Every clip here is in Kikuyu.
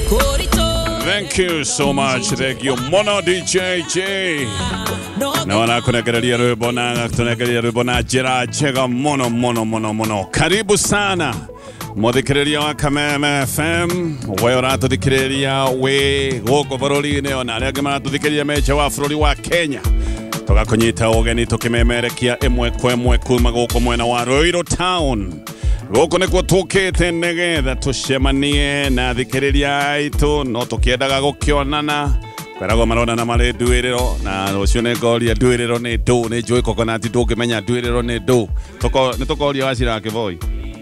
Thank you so much. Thank you Mono DJ J. Na wanakunegereria rwimbo na gatunegereria rwimbo na njĩra njega mũno mũno mũno mũno. Karibu sana mũthikĩrĩria wa Kameme FM, we ũratũthikĩrĩria wĩ gũkũ bũrũri-inĩ ona arĩa angĩ maratũthikĩrĩria me nja wa bũrũri wa Kenya. Tũgakũnyita ũgeni tũkĩmemerekia ĩmwe kwa ĩmwe kuma gũkũ mwena wa Ruiru Town. Gũkũ nĩkuo tũkĩte nĩgetha tũcemanie na athikĩrĩria aitũ, no tũkĩendaga gũkĩonana. Kwĩragwo maronana marĩ nduĩrĩro, na rũciũ nĩ ngoria nduĩrĩro nĩ ndũ, nĩ njũĩ coconut ndũngĩmenya nduĩrĩro nĩ ndũ. Nĩ tũkoria Wachira wa Kĩboi.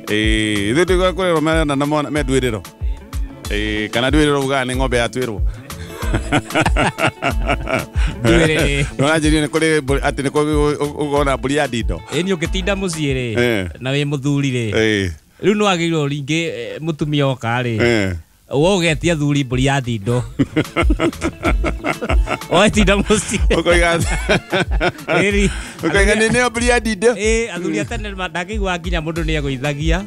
Ĩĩ, ithuĩ tũigua kwĩrwo meronana me nduĩrĩro. Ĩĩ, kana nduĩrĩro ugaga nĩ ng'ombe yatuĩrwo. Nduĩrĩ. Nĩũranjĩrire nĩ kũrĩ mbũri, atĩ nĩ kũrĩ ũkona mbũri ya ndindo. Ĩĩ, nĩ ũngĩtinda mũciĩ rĩ, na wĩ mũthuri rĩ, rĩu nĩ wagĩrĩirwo rĩngĩ mũtumia oka rĩ, we ũgetia thuri mbũri ya ndindo. Ũgetinda mũciĩ. Ũkoiga Ĩri. Ũkoiga nĩ nĩyo mbũri ya ndindo. Ĩĩ, athuri a tene ndangĩigua nginya mũndũ nĩ egũithagia.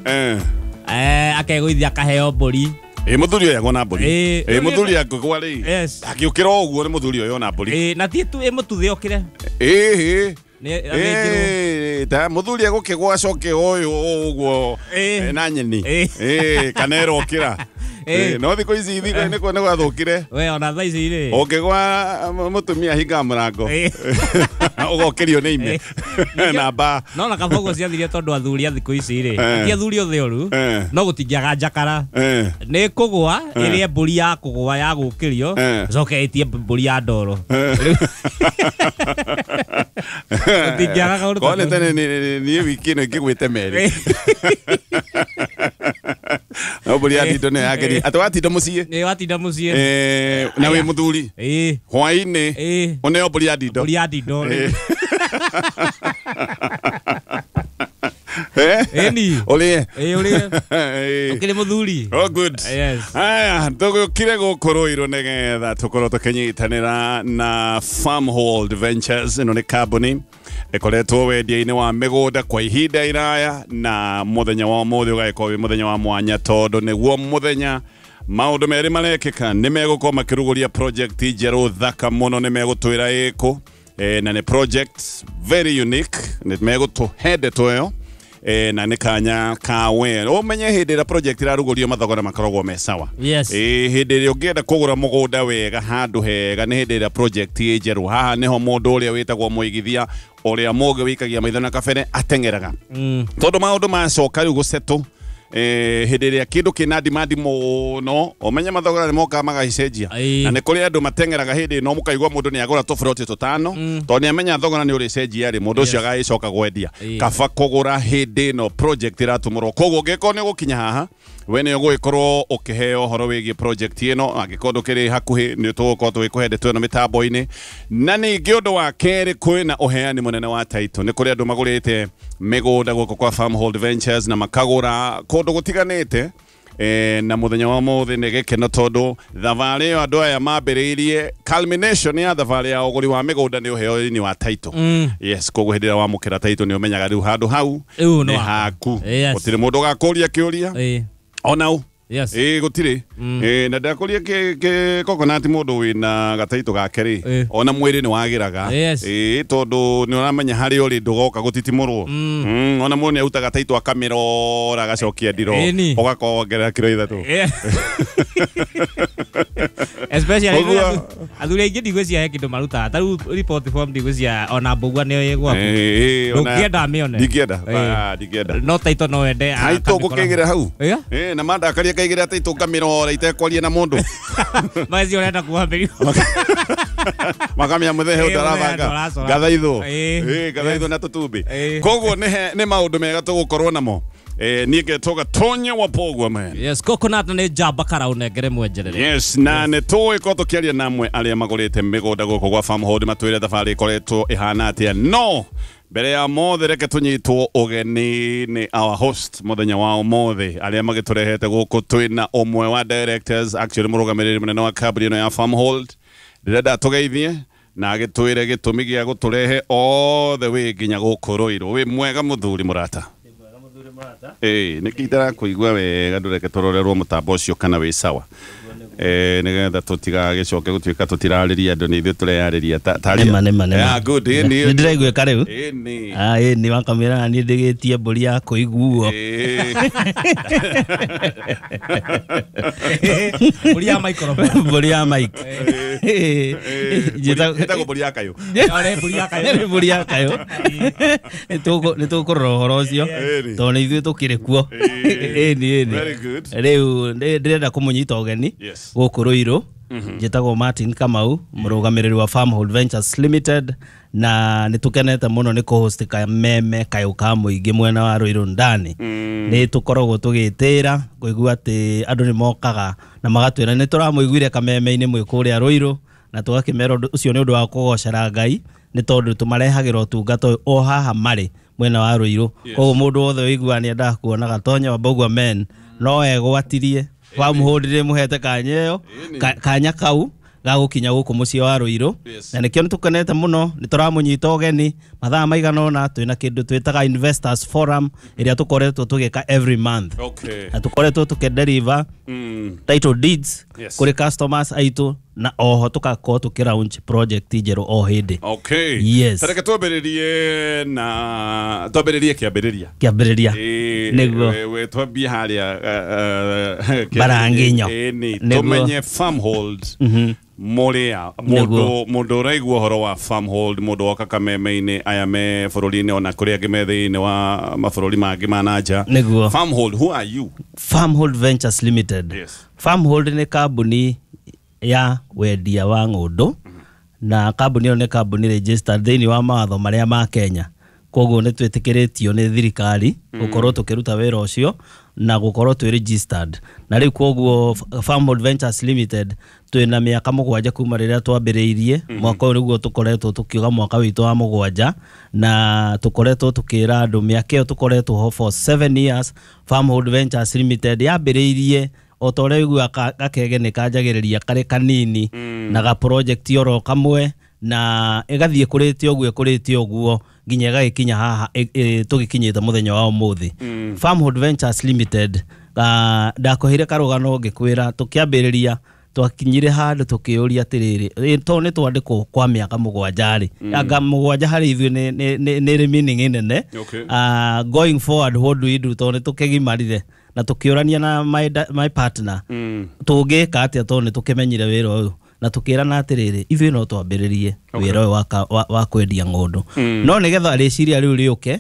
Akegũithia akaheo mbũri. Ĩ, mũthuri ũyũ agwo na mbũri. Ĩ, Ĩ, mũthuri angĩgwa rĩ, Yes. angĩũkĩra o ũguo nĩ mũthuri ũyũ ona mbũri. Ĩ, na ti tu ĩ mũtuthe okĩre. Ĩ, ĩ. Nĩ athĩnjĩrwo. Ĩ, ta mũthuri egũkĩgwa acoke ũyũ ũguo, na nyeni. Ĩ, kana erokĩra. Ĩ. No thikũ ici thikũ nĩ gwathũkire. We ona thaa ici rĩ. Ũngĩgwa mũtumia hinga mũrango. Ũgokĩrio nĩ ime. Na mbaa. No na kaba ũguo ciathirie tondũ athuri a thikũ ici rĩ, ti athuri othe oru, no gũtingĩaga njakara. Nĩ kũgũa, ĩrĩe mbũri ya kũgũa ya gũkĩrio, ĩcoke ĩtie mbũri ya ndoro. Gũtingĩaga kaũndũ ta Korwo nĩ kau. tene niĩ wiki ĩno ingĩgwĩte merĩ. No mbũri ya ndindo nĩyo yageria. Atĩ watinda mũciĩ? Nĩ watinda mũciĩ. Na wĩ mũthuri? Ĩ. Hwaĩ-inĩ? Ĩ. Ũneo mbũri ya ndindo? Mbũri ya ndindo. Ĩni. Ũrĩe? Ĩ, ũrĩe. Ũkĩrĩ mũthuri? Oh, good. Yes. Aya, tũgĩũkire gũkũ Ruiru nĩgetha tũkorwo tũkĩnyitanĩra na Farmhold Ventures. Ĩno nĩ kambuni ĩkoretwo wendia-inĩ wa mĩgũnda kwa ihinda iraya, na mũthenya wa ũmũthĩ ũgagĩkorwo wĩ mũthenya wa mwanya tondũ nĩguo mũthenya maũndũ merĩ marekĩka. Nĩ megũkorwo makĩrugũria project njerũ thaka mũno, nĩ megũtwĩra ĩkũ, na nĩ project very unique, nĩ megũtũhe ndeto ĩyo. Na nĩ kanya ka we ũmenye hĩndĩ ĩrĩa project ĩrarugũrio mathogora makoragwo me sawa. Yes. Hĩndĩ ĩrĩa ũngĩenda kũgũra mũgũnda wega handũ hega nĩ hĩndĩ ĩrĩa project ĩ njerũ. Haha nĩho mũndũ ũrĩa wĩtagwo mũigithia ũrĩa mũgĩ wĩikagia maitho na kabere ateng'eraga. Tondũ maũndũ macoka rĩu gũsetũ, hĩndĩ ĩrĩa kĩndũ kĩna demand mũno, ũmenye mathogora nĩ mokaga magacenjia. Na nĩ kũrĩ andũ mateng'eraga hĩndĩ ĩno, mũkaigua mũndũ nĩ agũra tũburoti tũtano, tondũ nĩ amenya thogora nĩ ũrĩcenjia rĩ, mũndũ ũcio agagĩcoka gwendia. Kaba kũgũra hĩndĩ ĩno project ĩratumũrwo. Koguo ũngĩkorwo nĩ ũgũkinya haha, we nĩ ũgũgĩkorwo ũkĩheo ũhoro wĩgiĩ project ĩno. Angĩkorwo ndũkĩrĩ hakuhĩ, nĩ tũgũkorwo tũgĩkũhe ndeto ĩno mĩtambo-inĩ. Na ningĩ ũndũ wa kerĩ, kwĩna ũheani mũnene wa title. Nĩ kũrĩ andũ magũrĩte mĩgũnda gũkũ kwa Farmhold Ventures na makagũra kũndũ gũtiganĩte. Na mũthenya wa ũmũthĩ nĩ gĩkeno tondũ thabarĩ ĩyo andũ aya mambĩrĩirie culmination ya thabarĩ ya ũgũri wa mĩgũnda nĩ ũheo-inĩ wa title. Yes, koguo hĩndĩ ĩrĩa wamũkĩra title nĩ ũmenyaga rĩu handũ hau Rĩu nĩ nĩ waku. haku. Yes. Gũtirĩ mũndũ ũgakũria kĩũria. Ona ũ? Yes. Ĩ, gũtirĩ. Ĩ, na ndakũria kĩ coconut mũndũ wĩna gataitũ gake rĩ, ona mwĩrĩ nĩ wagĩraga. Yes. Ĩ, tondũ nĩ ũramenya harĩa ũrĩ ndũgoka gũtitimũrwo. Ona mũndũ nĩ arutaga gataitũ akamĩrora agacokia ndiro. Ĩni. Ũgakongerera kiro ithatũ. Especially Ũguo. rĩrĩa athuri aingĩ ndigwĩciria he kĩndũ marutaga. Ta rĩu report form ndigwĩciria ona mbũgua nĩyo ĩ gwaku. Ĩ, ona- Ndũngĩenda amĩone. Ndingĩenda. Ĩ. Ah, ndingĩenda. No taitũ no wende Taitũ akamĩkora. ngũkĩigĩra hau. Ĩ? Ĩ, na mandakaria kaigĩra taitũ ngamĩrora itekwaria na mũndũ. Macio ũrenda kuoha mĩrigo. Makamĩa mũthee Ĩ, ũndarabanga. mũthee ndũracora. Ngathaithwo. Ĩ. Ĩ, ngathaithwo na tũtumbĩ. Ĩ. Koguo nĩ maũndũ mega tũgũkorwo namo. Niĩ ngetwo Gatonya wa Pogwa man. Yes, coconut nĩ njamba kara ũnengere mwenjerere. Yes, na nĩ tũĩ ko tũkĩaria na amwe arĩa magũrĩte mĩgũnda gũkũ gwa Farmhold matwĩre thabarĩ ĩkoretwo ĩhana atĩa. No mbere ya mothe reke tũnyitwo ũgeni nĩ our host mũthenya wa ũmũthĩ arĩa magĩtũrehete gũkũ. Twĩna ũmwe wa directors, actually mũrũgamĩrĩri mũnene wa kambuni ĩno ya Farmhold. Ndĩrenda tũgeithie na agĩtwĩre gĩtũmi gĩa gũtũrehe all the way nginya gũkũ Ruiru. Wĩ mwega mũthuri mũrata? Ĩĩ, nĩkĩ itarakuigua wega? Ndũreke tũrorerwo mũtambo ũcio kana wĩ sawa. Nĩgetha tũtigagĩcoke gũtuĩka tũtirarĩria andũ nĩ ithuĩ tũreyarĩria. Nĩma nĩma nĩma. Yeah, good. Ĩni. Nĩ ndĩraiguĩka rĩu. Ĩni. Ah, ĩni wakamĩra na niĩ ndĩgĩtie mbũri ya kũiguo. Mbũri ya microphone. Mbũri ya mic. Ĩtagwo mbũri ya kayũ. Mbũri ya kayũ. Nĩ mbũri ya kayũ. Nĩ tũkũrora ũhoro ũcio tondũ nĩ ithuĩ tũkĩrĩ kuo. Ĩni ĩni. Very good. Rĩu ndĩrenda kũmũnyita ũgeni gũkũ Ruiru. Njĩtagwo Martin Kamau, mũrũgamĩrĩri wa Farmhold Ventures Limited, na nĩ tũkenete mũno nĩ kũhost kameme kayũ ka mũingĩ mwena wa Ruiru ndani. Nĩ tũkoragwo tũgĩtĩra kũigua atĩ andũ nĩ mokaga na magatwĩra nĩ tũramũiguire kameme-inĩ mwĩ kũrĩa Ruiru, na tũgakĩmera ũcio nĩ ũndũ wa kũgocera Ngai nĩ tondũ tũmarehagĩra ũtungata ũyũ o haha marĩ mwena wa Ruiru. Koguo mũndũ wothe ũiguaga nĩ endaga kuona Gatonya wa Mbũgua men no egwatirie Farmhold rĩ mũhete kanya ĩyo kanya kau gagũkinya gũkũ mũciĩ wa Ruiru. Na nĩkĩo nĩ tũkenete mũno nĩ tũramũnyita ũgeni mathaa maigana ũna twĩna kĩndũ twĩtaga Investors Forum ĩrĩa tũkoretwo tũgĩka every month. Na tũkoretwo tũkĩdeliver title deeds kũrĩ customers aitũ, na oho tũgakorwo tũkĩ launch project njerũ o hĩndĩ. Yes. Tareke twambĩrĩrie na twambĩrĩrie kĩambĩrĩria. Kĩambĩrĩria. Nĩguo. Twambie harĩa Baranginyo. Tũmenye Farmhold mũrĩa mũndũ ũraigua ũhoro wa Farmhold, mũndũ woka kameme-inĩ aya me bũrũri-inĩ ona kũrĩa angĩ me thĩinĩ wa mabũrũri mangĩ ma na nja. Nĩguo. Farmhold, who are you? Farmhold Ventures Limited. Farmhold nĩ kambuni ya wendia wa ng'ũndũ, na kambuni ĩyo nĩ kambuni registered thĩinĩ wa mawatho marĩa ma Kenya. Koguo nĩ twĩtĩkĩrĩtio nĩ thirikari gũkorwo tũkĩruta wĩra ũcio na gũkorwo twĩ registered. Na rĩu koguo Farmhold Ventures Limited twĩna mĩaka 7 kuma rĩrĩa twambĩrĩirie. Mwaka ũyũ nĩguo tũkoretwo tũkiuga mwaka witũ wa 7, na tũkoretwo tũkĩra andũ mĩaka ĩyo tũkoretwo ho for 7 years. Farmhold Ventures Limited yambĩrĩirie o ta ũrĩa ũiguaga gakege nĩ kanjagĩrĩria karĩ kanini na ga project oro kamwe, na ĩgathiĩ kũrĩte ũguo ĩkũrĩte ũguo nginya ĩgagĩkinya haha tũgĩkinyĩte mũthenya wa ũmũthĩ. Farmhold Ventures Limited, ndakũheire karũgano ngĩkwĩra tũkĩambĩrĩria twakinyire handũ tũkĩũria atĩrĩrĩ, tondũ nĩ twandĩkwo kwa mĩaka 7 rĩ, anga 7 harĩ ithuĩ nĩ meaning nene. Going forward what do we do, tondũ nĩ tũkĩgimarire na tũkĩũrania na my partner tũngĩka atĩa tondũ nĩ tũkĩmenyire wĩra ũyũ, na tũkĩrana atĩrĩrĩ ithuĩ no twambĩrĩrie wĩra ũyũ wa kwendia ng'ũndũ. No nĩgetha rĩciria rĩu rĩũke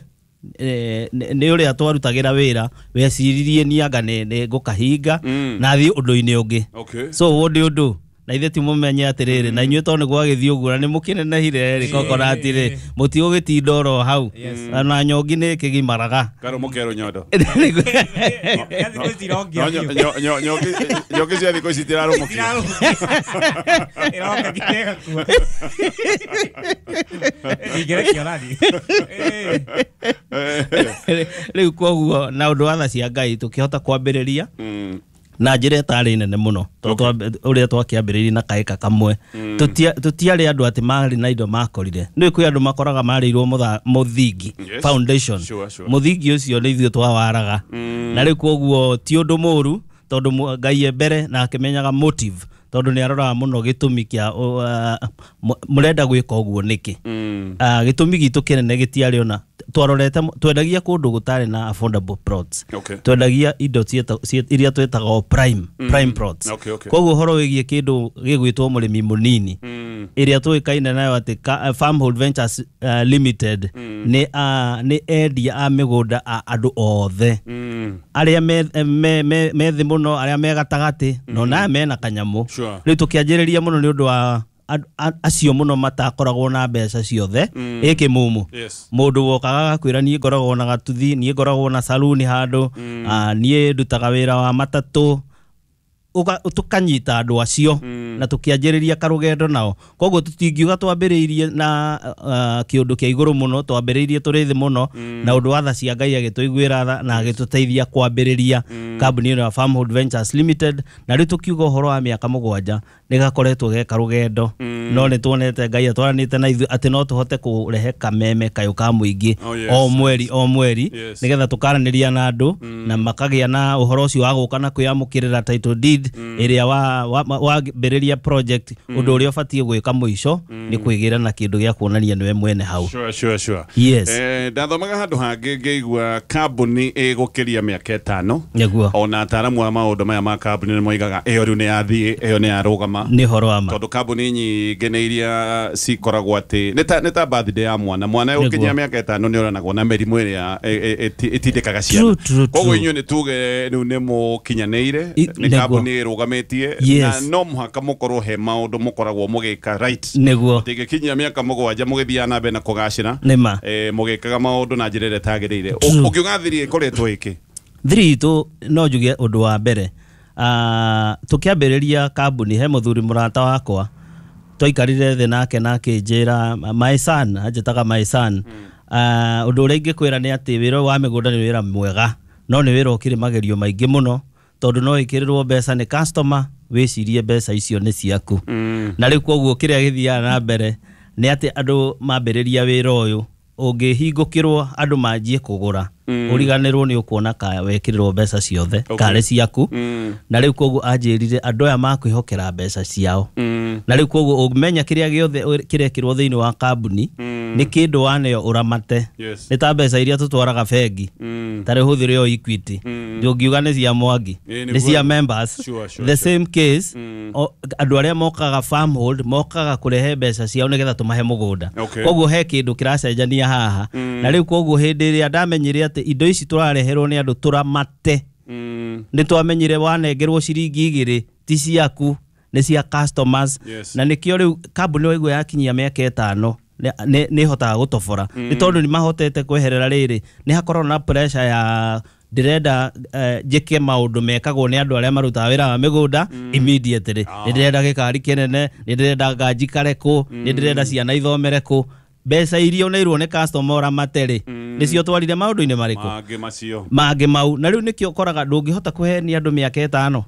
nĩ ũrĩa twarutagĩra wĩra weciririe nianga nĩ ngũkahinga na thiĩ ũndũ-inĩ ũngĩ. So what do you do? Na ithuĩ ti mũmenye atĩrĩrĩ na inyuĩ tondũ nĩ gwagĩthiĩ ũguo na nĩ mũkĩnenehire rĩ kokorati rĩ mũtigũgĩtinda oro hau na nyongi nĩ ĩkĩgimaraga. Karũmũ kerũ nyondo. Nyongi cia thikũ ici itirarũmũkio. Rĩu koguo na ũndũ wa tha cia Ngai tũkĩhota kwambĩrĩria na njĩra ĩtarĩ nene mũno tondũ ũrĩa twakĩambĩrĩirie na kaĩka kamwe. Tũtiarĩ andũ atĩ marĩ na indo makorire. Nĩ kwĩ andũ makoraga marĩirwo mũthingi, foundation. Mũthingi ũcio nĩ ithuĩ twawaraga. Na rĩu koguo ti ũndũ mũũru tondũ Ngai e mbere na akĩmenyaga motive, tondũ nĩ aroraga mũno gĩtũmi kĩa mũrenda gwĩka ũguo nĩkĩ. Gĩtũmi gitũ kĩnene gĩtiarĩ ona twarorete, twendagia kũndũ gũtarĩ na affordable plots. Twendagia indo iria twĩtaga prime plots. Koguo ũhoro wĩgiĩ kĩndũ gĩgwĩtwo mũrĩmi mũnini ĩrĩa tũĩkaine nayo atĩ Farmhold Ventures Limited nĩ endia a mĩgũnda a andũ othe arĩa me thĩ mũno, arĩa me gatagatĩ no na mena kanyamũ. Rĩu tũkĩanjĩrĩria mũno nĩ ũndũ wa acio mũno matakoragwo na mbeca ciothe ĩkĩmumu. Mũndũ wokaga agakwĩra niĩ ngoragwo na gatuthi, niĩ ngoragwo na saluni handũ, niĩ ndutaga wĩra wa matatũ, tukanyita andũ acio na tukianjĩrĩria karũgendo nao. Koguo tũtingiuga twambĩrĩirie na kĩũndũ kĩa igũrũ mũno, twambĩrĩirie tũrĩ thĩ mũno, na ũndũ wa tha cia Ngai agĩtũiguĩra tha na agĩtũteithia kwambĩrĩria kambuni ĩno ya Farmhold Ventures Limited. Na rĩu tũkiuga ũhoro wa mĩaka 7 Nĩ gakoretwo geka rũgendo, no nĩ tuonete Ngai atwaranĩte na ithuĩ atĩ no tũhote kũrehe kameme kayũ ka mũingĩ o mweri o mweri, nĩgetha tũkaranĩria na andũ na makagĩa na ũhoro ũcio wa gũka na kwĩamũkĩrĩra title deed ĩrĩa wambĩrĩria project. Ũndũ ũrĩa ũbatiĩ gwĩka mũico nĩ kwĩgĩra na kĩndũ gĩa kuonania nĩwe mwene hau. Sure. Yes. Ndathomaga handũ hangĩ ngĩigua kambuni ĩgũkĩria mĩaka 5. Nĩguo. Ona ataaramu a maũndũ maya ma kambuni nĩ moigaga ĩyo rĩu nĩ yathiĩ, ĩyo nĩ yarũgama. Nĩ ũhoro wa ma. Tondũ kambuni nyingĩ nĩ iria cikoragwo atĩ nĩ ta birthday ya mwana. Mwana ũkinyia mĩaka 5 nĩ oranagwo na mĩrimũ ĩrĩa ĩtindĩkaga ciana. Koguo inyuĩ nĩ tuge rĩu nĩ mũkinyanĩire, nĩ kambuni ĩrũgamĩtie, na no mũhaka mũkorwo he maũndũ mũkoragwo mũgĩka right. Nĩguo. Tĩngĩkinyia mĩaka 7 mũgĩthiaga na mbere na kũgacĩra, mũgĩkaga maũndũ na njĩra ĩrĩa ĩtagĩrĩire. Ũngiuga thiri ĩkoretwo ĩkĩ? Thiri itũ no njuge ũndũ wa mbere, tũkĩambĩrĩria kambuni he mũthuri mũrata wakwa twaikarire thĩ nake na akĩnjĩra my son, anjĩtaga my son, ũndũ ũrĩa ingĩkwĩra nĩ atĩ wĩra wa mĩgũnda nĩ wĩra mwega, no nĩ wĩra ũkĩrĩ magerio maingĩ mũno, tondũ no ĩkĩrĩrwo mbeca nĩ customer wĩcirie mbeca icio nĩ ciaku. Na rĩu koguo kĩrĩa gĩthiaga na mbere nĩ atĩ andũ mambĩrĩria wĩra ũyũ ũngĩhingũkĩrwo andũ manjie kũgũra, ũriganĩrwo nĩ ũkuona ka wekĩrĩrwo mbeca ciothe karĩ ciaku. Na rĩu koguo anjĩrire andũ aya makwĩhokera mbeca ciao. Na rĩu koguo ũngĩmenya kĩrĩa gĩothe kĩrekĩrwo thĩinĩ wa kambuni nĩ kĩndũ waneo ũramate. Nĩ ta mbeca iria tũtwaraga bengi, ta rĩu hũthĩre o Equity, ndũngiuga nĩ cia Mwangi, nĩ cia members. The same case, andũ arĩa mokaga Farmhold mokaga kũrehe mbeca ciao nĩgetha tũmahe mũgũnda. Koguo he kĩndũ kĩracenjania haha. Na rĩu koguo hĩndĩ ĩrĩa ndamenyire atĩ indo ici tũrareherwo nĩ andũ tũramate, nĩ twamenyire wanengerwo ciringi 2 ti ciaku, nĩ cia customers. Na nĩkĩo rĩu kambuni waigua yakinyia mĩaka 5 nĩ ĩhotaga gũtobora, nĩ tondũ nĩ mahotete kweherera rĩrĩ, nĩ hakoragwo na pressure ya ndĩrenda njĩke maũndũ mekagwo nĩ andũ arĩa marutaga wĩra wa mĩgũnda immediately. Nĩ ndĩrenda gĩkari kĩnene, nĩ ndĩrenda nganjikare kũ, nĩ ndĩrenda ciana ithomere kũ. Mbeca iria ũneirwo nĩ customer ũramate-rĩ, nĩcio twarire maũndũ-inĩ marĩkũ? Mangĩ macio. Mangĩ mau. Na rĩu nĩkĩo ũkoraga ndũngĩhota kũhenia andũ mĩaka 5.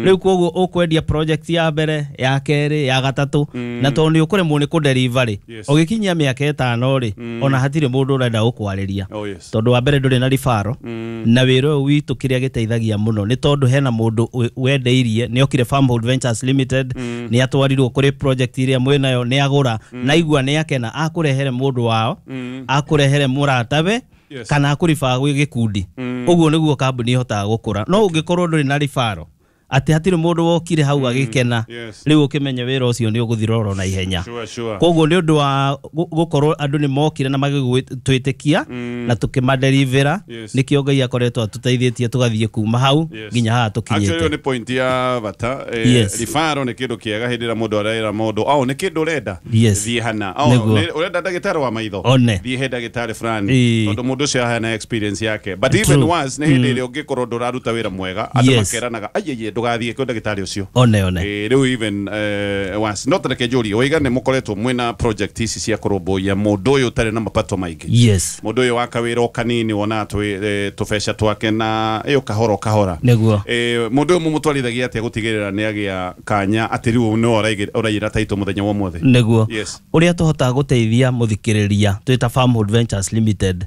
Rĩu koguo ũkwendia project ya mbere, ya kerĩ, ya gatatũ, na tondũ nĩ ũkũremwo nĩ kũdeliver-rĩ, ũgĩkinyia mĩaka 5-rĩ, ona hatirĩ mũndũ ũrenda gũkwarĩria. Tondũ wa mbere ndũrĩ na ribaro, na wĩra ũyũ witũ kĩrĩa gĩteithagia mũno nĩ tondũ hena mũndũ wendeirie, nĩ okire Farmhold Ventures Limited, nĩ atwarirwo kũrĩ project ĩrĩa mwĩnayo, nĩ agũra, na aigua nĩ akena, akũrehere mũndũ wao, akũrehere mũratawe, kana akũriba gwĩ gĩkundi. Ũguo nĩguo kambuni ĩhotaga gũkũra. No ũngĩkorwo ndũrĩ na ribaro, atĩ hatirĩ mũndũ wokire hau agĩkena, rĩu ũkĩmenye wĩra ũcio nĩ ũgũthira oro na ihenya. Koguo nĩ ũndũ wa gũkorwo andũ nĩ mokire na magĩtwĩtĩkia na tũkĩmaderivera, nĩkĩo Ngai akoretwo atũteithĩtie tũgathiĩ kuma hau nginya haha tũkinyĩte. Actually nĩ point ya bata. Ribaro nĩ kĩndũ kĩega hĩndĩ ĩrĩa mũndũ arera mũndũ, au nĩ kĩndũ ũrenda, thiĩ hana, au ũrenda ndagĩtarĩ wa maitho, thiĩ he ndagĩtarĩ fulani, tondũ mũndũ ũcio ahana experience yake. But even once nĩ hĩndĩ ĩrĩa ũngĩkorwo ndũraruta wĩra mwega, andũ makeranaga aiye ndũgathiĩ kwĩ ndagĩtarĩ ũcio. One. Rĩu even once no tareke njũrie, waiga nĩ mũkoretwo mwĩna project ici cia kũrũmbũiya mũndũ ũyũ ũtarĩ na mapato maingĩ. Mũndũ ũyũ wa kawĩra o kanini wonaga tũbeca twake na ĩyo kahora kahora. Nĩguo. Mũndũ ũyũ mũmũtwarithagia atĩa gũtigĩrĩra nĩ agĩa kanya atĩ rĩu nĩwe ũraiyĩra title mũthenya wa ũmũthĩ? Nĩguo. Ũrĩa tũhotaga gũteithia mũthikĩrĩria twĩta Farmhold Ventures Limited,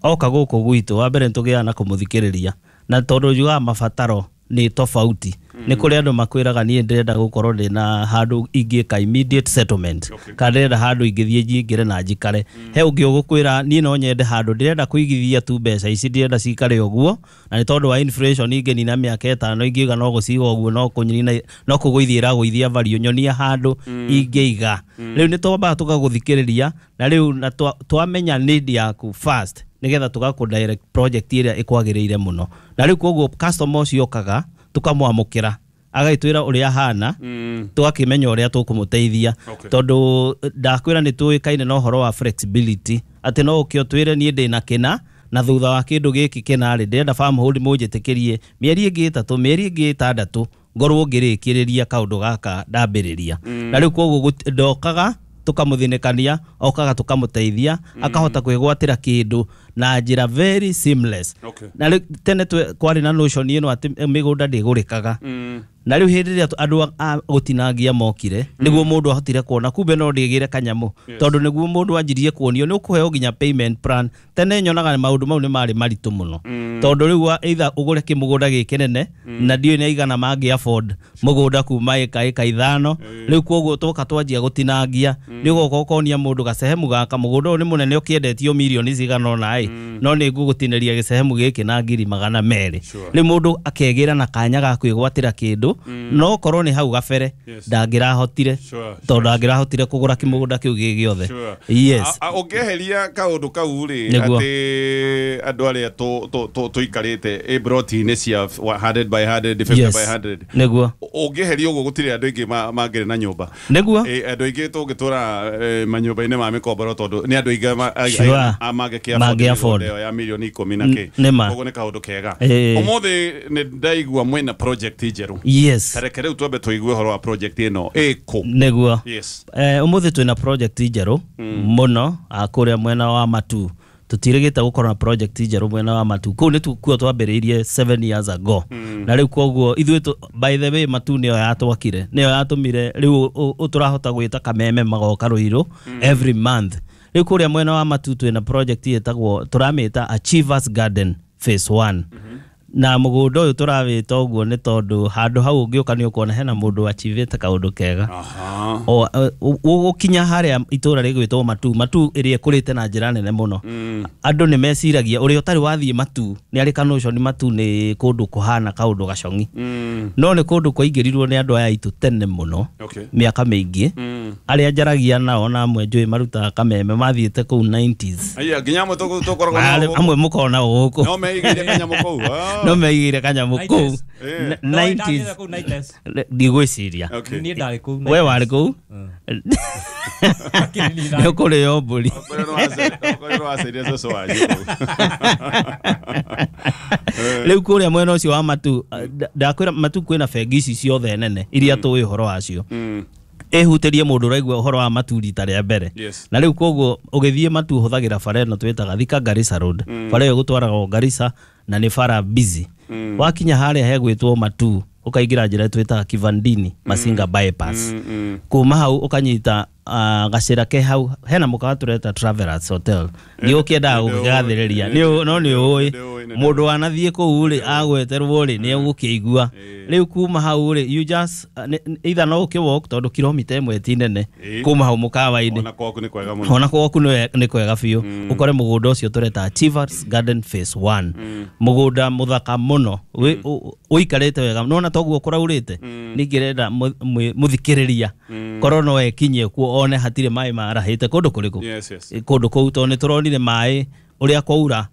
oka gũkũ gwitũ, wa mbere nĩtũgĩaga na kũmũthikĩrĩria, na tondũ njugaga mabataro nĩ tofauti. Nĩ kũrĩ andũ makwĩraga niĩ ndĩrenda gũkorwo ndĩna handũ ingĩka immediate settlement, kana ndĩrenda handũ ingĩthiĩ njingĩre na njikare. He ũngĩ ũgũkwĩra niĩ no nyende handũ ndĩrenda kũigithia tu mbeca ici, ndĩrenda cikare ũguo, na nĩ tondũ wa inflation ingĩnina mĩaka 5 ingiuga no gũciga ũguo, no kũnina, no kũgũithia ĩragũithia value, nyonia handũ ingĩiga. Rĩu nĩ twambaga tũgagũthikĩrĩria, na rĩu na twamenya need yaku first, nĩgetha tũgakũ direct project ĩrĩa ĩkwagĩrĩire mũno. Na rĩu koguo customer ũcio okaga tũkamwamũkĩra, agagĩtwĩra ũrĩa ahana, tũgakĩmenya ũrĩa tũkũmũteithia. Tondũ ndakwĩra nĩ tũĩkaine na ũhoro wa flexibility, atĩ no ũke ũtwĩre niĩ ndĩna kĩna, na thutha wa kĩndũ gĩkĩ kĩna-rĩ, ndĩrenda Farmhold mũnjĩtĩkĩrie mĩeri ĩngĩ 3, mĩeri ĩngĩ 6 ngorwo ngĩrĩkĩrĩria kaũndũ gaka ndambĩrĩria. Na rĩu koguo ndokaga tũkamũthinĩkania, okaga tũkamũteithia, akahota kwĩgwatĩra kĩndũ na njĩra very seamless. Na rĩu tene kwarĩ na notion ĩno atĩ mĩgũnda ndĩgũrĩkaga. Na rĩu hĩndĩ ĩrĩa andũ a gũtinangia mokire nĩguo mũndũ ahotire kuona kumbe no ndĩgĩre kanyamũ, tondũ nĩguo mũndũ anjirie kuonio nĩ ũkũheo nginya payment plan. Tene nyonaga maũndũ mau nĩ marĩ maritũ mũno, tondũ rĩu either ũgũre kĩmũgũnda gĩkĩ nene na ndiũĩ nĩ aigana mangĩ afford mũgũnda kuma ĩka 5. Rĩu koguo twoka twanjia gũtinangia nĩ ũgoka ũkonia mũndũ gacehemu gaka, mũgũnda ũyũ nĩ mũnene ũkĩendetio mirioni cigana ũna ĩ, no nĩ ngũgũtinĩria gĩcehemu gĩkĩ na 200,000. Rĩu mũndũ akegĩra na kanya ga kwĩgwatĩra kĩndũ, no korwo nĩ hau gabere ndangĩrahotire, tondũ ndangĩrahotire kũgũra kĩmũgũnda kĩu gĩ gĩothe. Yes. Ũngĩeheria kaũndũ kau rĩ, atĩ andũ arĩa tũikarĩte broti-inĩ cia 100 by 100, 50 by 100, nĩguo ũngĩeheria ũguo gũtirĩ andũ aingĩ mangĩrĩ na nyũmba. Nĩguo andũ aingĩ tũngĩtũra manyũmba-inĩ ma mĩkomboro, tondũ nĩ andũ aingĩ mangĩkĩ afford ĩyo ya mirioni 10 na kĩ. Koguo nĩ kaũndũ kega. Ũmũthĩ nĩ ndaigua mwĩna project njerũ. Yes. Tareke rĩu twambe tũigue ũhoro wa project ĩno ĩkũ. Nĩguo. Yes. Ũmũthĩ twĩna project njerũ mũno kũrĩa mwena wa Matu. Tũtirĩgĩte gũkorwo na project njerũ mwena wa Matu. Kũu nĩ kuo twambĩrĩirie 7 years ago. Na rĩu koguo ithuĩ by the way Matu nĩyo yatwakire, nĩyo yatũmire rĩu tũrahota gwĩta kameme magoka Ruiru every month. Rĩu kũrĩa mwena wa Matu twĩna project ĩtagwo, tũramĩta Achievers Garden Phase 1. Na mũgũnda ũyũ tũrawĩta ũguo nĩ tondũ handũ hau ũngĩũka nĩ ũkuona hena mũndũ achivĩte kaũndũ kega. Ũgũkinya harĩa itũra rĩgwĩtwo Matu, Matu ĩrĩa ĩkũrĩte na njĩra nene mũno. Andũ nĩ meciragia ũrĩa ũtarĩ wathiĩ Matu nĩ arĩ kanotion Matu nĩ kũndũ kũhana kaũndũ gacong'i. No nĩ kũndũ kwaingĩrirwo nĩ andũ aya aitũ tene mũno, mĩaka mĩingĩ. Arĩa njaragia nao na amwe njũĩ marutaga kameme mathiĩte kũu 90s. Aya nginya amwe tũkoragwo nao. Amwe mũkoragwo nao gũkũ. No meigĩire kanyamũ kũu. No meigĩire kanyamũ kũu 90s. Ndigwĩciria. We warĩ kũu? Nĩ ũkũrĩo mbũri. Rĩu kũrĩa mwena ũcio wa Matu, ndakwĩra Matu kwĩna bengi ici ciothe nene iria tũĩ ũhoro wacio. Ĩhutĩrie mũndũ ũraigua ũhoro wa Matu rita rĩa mbere. Na rĩu koguo ũgĩthiĩ Matu ũhũthagĩra bara ĩno twĩtaga Thika Garissa Road. Bara ĩyo ĩgũtwaraga Garissa na nĩ bara busy. Wakinya harĩa hegwĩtwo Matu ũkaingĩra njĩra twĩtaga Kivandini Masinga bypass. Kuma hau ũkanyita gacĩra ke hau hena mũkawa tũreta Travelers Hotel. Nĩ ũkĩendaga gũkĩgathĩrĩria no nĩ ũĩ mũndũ wanathiĩ kũu rĩ agweterwo rĩ nĩ egũkĩigua. Rĩu kuma hau rĩ you just either no ũkĩ walk tondũ kilomita 1 ti nene kuma hau mũkawa-inĩ. Ona gwaku nĩ kwega mũno. Ona gwaku nĩ kwega biũ. Ũkore mũgũnda ũcio tũreta Achievers Garden Phase 1. Mũgũnda mũthaka mũno ũikarĩte wega. Nona toguo kũraurĩte ningĩrenda mũthikĩrĩria korwo no ekinyie kuo one hatirĩ maĩ marahĩte kũndũ kũrĩkũ. Kũndũ kũu tondũ nĩ tũronire maĩ ũrĩa kwaura.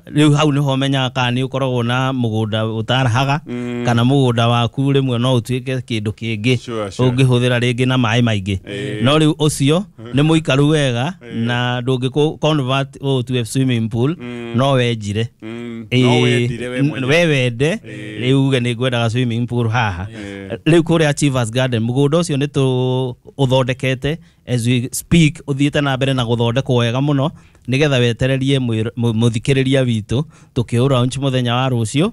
Rĩu hau nĩho menyaga kana nĩ ũkoragwo na mũgũnda ũtarahaga kana mũgũnda waku rĩmwe no ũtuĩke kĩndũ kĩngĩ ũngĩhũthĩra rĩngĩ na maĩ maingĩ. No rĩu ũcio nĩ mũikaru wega na ndũngĩ convert ũtue swimming pool, no wenjire we wende rĩu uge nĩ ngwendaga swimming pool haha. Rĩu kũrĩa Achievers Garden mũgũnda ũcio nĩ tũũthondekete as we speak, ũthiĩte na mbere na gũthondekwo wega mũno nĩgetha wetererie mũthikĩrĩria witũ tũkĩũraunch mũthenya wa rũciũ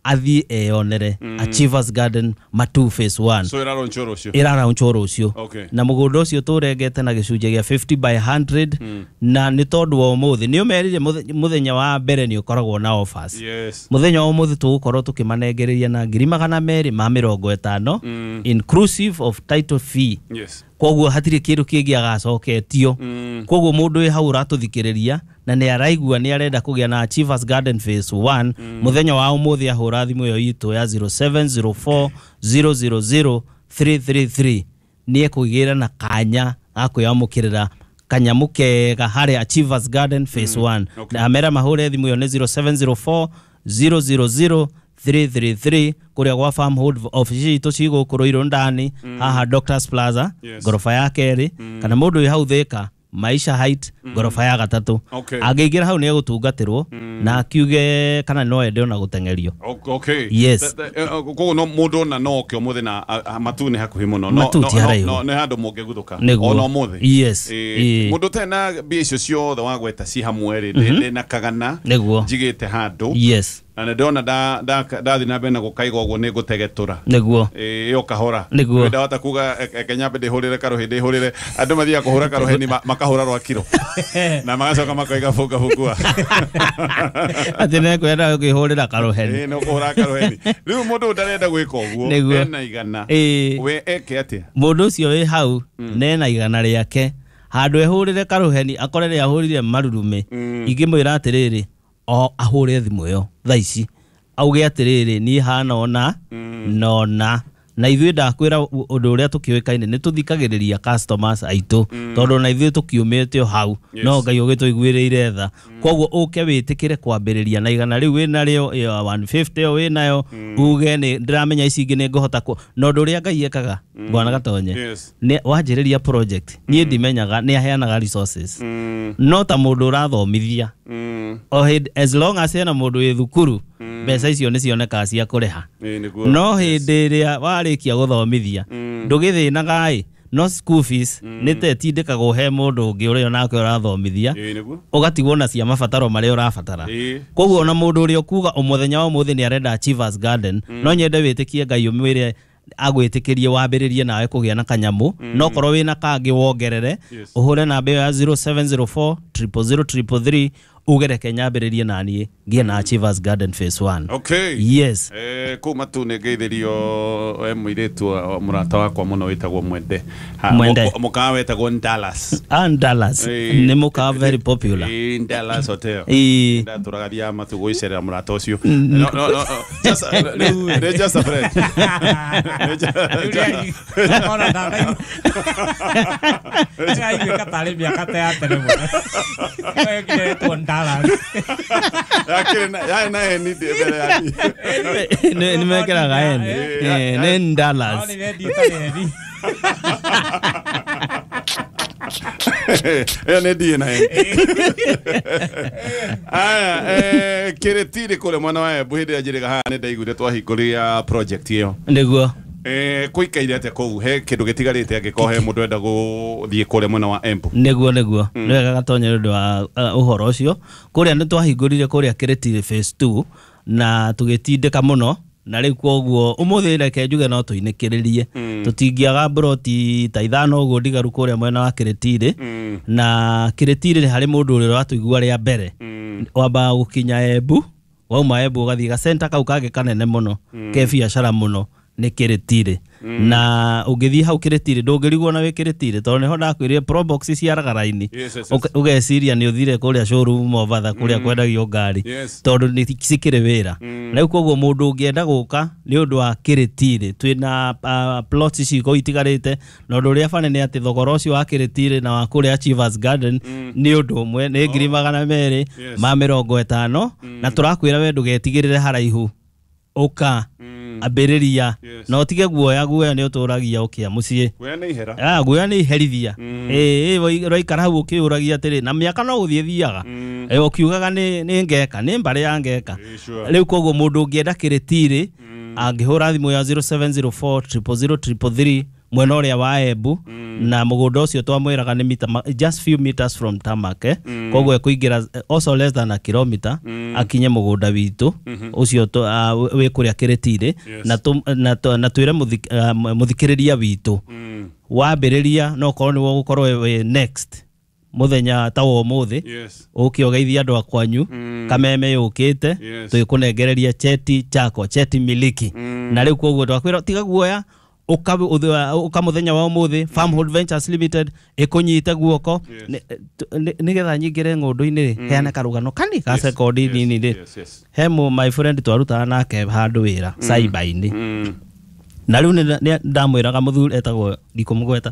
athiĩ eyonere Achievers Garden Matu Phase 1. So ĩraraunchwo rũciũ? Ĩraraunchwo rũciũ. Na mũgũnda ũcio tũrengete na gĩcunjĩ gĩa 50 by 100 na nĩ tondũ wa ũmũthĩ nĩ ũmerire mũthenya wa mbere nĩ ũkoragwo na offers. Mũthenya wa ũmũthĩ tũgũkorwo tũkĩmanengereria na 250,000 inclusive of title fee. Koguo hatirĩ kĩndũ kĩngĩ agacoketio. Koguo mũndũ wĩ hau ũratũthikĩrĩria na nĩ araigua nĩ arenda kũgĩa na Achievers Garden Phase 1 mũthenya wa ũmũthĩ ahũra thimũ ĩyo itũ ya 0704 000 333 nĩ ekũgĩra na kanya ga kwĩamũkĩrĩra kanyamũ kega harĩa Achievers Garden Phase 1. Na amera mahũre thimũ ĩyo nĩ 0704 000 333 kũrĩa gwa Farmhold office itũ ci gũkũ Ruiru ndani haha Doctors Plaza ngoroba ya kerĩ, kana mũndũ wĩ hau Thika Maisha Height, ngoroba ya gatatũ. Okay. Angĩingĩra hau nĩ egũtungatĩrwo na akiuge kana no ende ona gũteng'erio. Okay. Yes. Koguo no mũndũ ona no oke ũmũthĩ na Matu nĩ hakuhĩ mũno. No Matu ti haraihu. no nĩ handũ mũngĩguthũka Nĩguo. ona ũmũthĩ. Yes. Mũndũ ũtarĩ na mbia icio ciothe wagweta ci hamwe rĩ, ndĩ na kagana Nĩguo. njigĩte handũ. Yes. Na nĩ ndĩrona ndathiĩ na mbere na gũkaiga ũguo nĩ ngũtegetũra. Nĩguo. Ĩyo kahora. Nĩguo. Ndahota kuga Kenya ndĩhũrĩre karũhĩ ndĩhũrĩre. Andũ mathiaga kũhũra karũheni makahũra rwa kiro. Na magacoka makoiga bunga bungua. Atĩ nĩkwenda kwĩhũrĩra karũheni. Nĩ ũkũhũra karũheni. Rĩu mũndũ ndarenda gwĩka ũguo Nĩguo. ena igana. We eke atĩa? Mũndũ ũcio wĩ hau nena igana rĩake handũ ehũrĩre karũheni akore rĩahũrire marurumĩ. Ingĩmwĩra atĩrĩrĩ, o ahũre thimũ ĩyo thaa ici auge atĩrĩrĩ, niĩ hana ona nona na ithuĩ ndakwĩra ũndũ ũrĩa tũkĩũĩkaine nĩ tũthikagĩrĩria customers aitũ tondũ na ithuĩ tũkiumĩte o hau no Ngai ũgĩtũiguĩrĩire tha. Koguo ũke wĩtĩkĩre kwambĩrĩria na igana rĩu wĩnarĩo ĩyo 150 ĩyo wĩnayo uge nĩ ndĩramenya ici ingĩ nĩ ngũhota na ũndũ ũrĩa Ngai ekaga Bwana Gatonye nĩ wanjĩrĩria project niĩ ndimenyaga nĩ aheanaga resources no ta mũndũ ũrathomithia o hĩndĩ as long as hena mũndũ wĩ thukuru mbeca icio nĩ cionekaga cia kũrĩha. No hĩndĩ ĩrĩa warĩkia gũthomithia ndũgĩthĩnaga ĩ no school fees nĩ ta ĩtindĩkagwo he mũndũ ũngĩ ũrĩa onake ũrathomithia ũgatigwo na cia mabataro marĩa ũrabatara. Koguo ona mũndũ ũrĩa ũkuga mũthenya wa ũmũthĩ nĩ arenda Achievers Garden no nyende wĩtĩkie Ngai ũmwĩre agwĩtĩkĩrie wambĩrĩrie nawe kũgĩa na kanyamũ no korwo wĩna kangĩ wongerere ũhũre namba ĩyo ya 0704 000 333 ugereke nyambĩrĩrie naniĩ ngĩe na Achievers Garden phase 1. Okay. Yes. Kũu Matu nĩ ngeithĩrio mũirĩtu mũrata wakwa mũno wĩtagwo Mwende. Mwende. Mũkawa wetagwo Dallas. Dallas. Nĩ mũkawa very popular. Dallas Hotel. Ndatũraga thiaga Matu gũicerera mũrata ũcio. No no no. Just just a friend. Ona ndanaigua. Ndĩraiguĩka tarĩ mĩaka ta ya tene mũno. Dallas. Yarĩ na N mbere ya D. Nĩ mekĩraga N. Nĩ Dallas. Ĩyo nĩ D na N. Aya, Kĩrĩtirĩ kũrĩa mwena wa Embu hĩndĩ ĩrĩa njĩrĩga haha nĩ ndaiguire twahingũria project ĩyo. Nĩguo. Kũikaire atĩa kũu he kĩndũ gĩtigarĩte angĩkorwo he mũndũ enda gũthiĩ kũrĩa mwena wa Embu? Nĩguo nĩguo. Nĩ wega Gatonye nĩ ũndũ wa ũhoro ũcio. Kũrĩa nĩ twahingũrire kũrĩa Kĩrĩtirĩ phase 2 na tũgĩtindĩka mũno na rĩu koguo ũmũthĩ reke njuge no tũinĩkĩrĩrie. Tũtingĩaga mburoti ta ithano ũguo ndigaru kũrĩa mwena wa Kĩrĩtirĩ. Na Kĩrĩtirĩ harĩ mũndũ ũrĩa ũratũigua rĩa mbere wambaga gũkinya Embu, wauma Embu ũgathiĩ gacenta kau kangĩ kanene mũno ke biacara mũno nĩ Kĩrĩtirĩ. Na ũngĩthiĩ hau Kĩrĩtirĩ ndũngĩrigwo na wĩ Kĩrĩtirĩ tondũ nĩho ndakwĩrire Probox ciaraga raini. Ũgeciria nĩ ũthire kũrĩa showroom Mobatha kũrĩa kwendagio ngari tondũ nĩ cikĩrĩ wĩra. Rĩu koguo mũndũ ũngĩenda gũka nĩ ũndũ wa Kĩrĩtirĩ twĩna plots ici kũu itigarĩte na ũndũ ũrĩa bane nĩ atĩ thogora ũcio wa Kĩrĩtirĩ na wa kũrĩa Achievers Garden nĩ ũndũ ũmwe nĩ 250,000 na tũrakwĩra we ndũgetigĩrĩre haraihu ũka ambĩrĩria na ũtige guoya guoya nĩ ũtũragia ũkĩa mũciĩ. Guoya nĩ ihera. Guoya nĩ iherithia. Ũraikara hau ũkĩũragia atĩrĩ na mĩaka no gũthiĩ thiaga ũkiugaga nĩ ngeka nĩ mbarĩ ya ngeka. Rĩu koguo mũndũ ũngĩenda Kĩrĩtirĩ angĩhũra thimũ ya 0704 000 333 mwena ũrĩa wa Embu na mũgũnda ũcio twamwĩraga nĩ mita just few meters from tarmac koguo ekũingĩra also less than a kilometer akinye mũgũnda witũ ũcio wĩ kũrĩa Kĩrĩtirĩ na twĩre mũthikĩrĩria witũ wambĩrĩria no korwo nĩwe ũgũkorwo wĩ next mũthenya ta wa ũmũthĩ ũke ũgeithie andũ a kwanyu kameme yũkĩte twĩkũnengereria cheti chako cheti miliki. Na rĩu koguo twakwĩra tiga guoya ũka mũthenya wa ũmũthĩ Farmhold Ventures Limited ĩkũnyite guoko nĩgetha nyingĩre ng'ũndũ-inĩ rĩ heane karũgano kani ka sekondi nini rĩ. He my friend twarutaga nake handũ wĩra cyber-inĩ na rĩu nĩ ndamwĩraga mũthuri etagwo ndikũmũgweta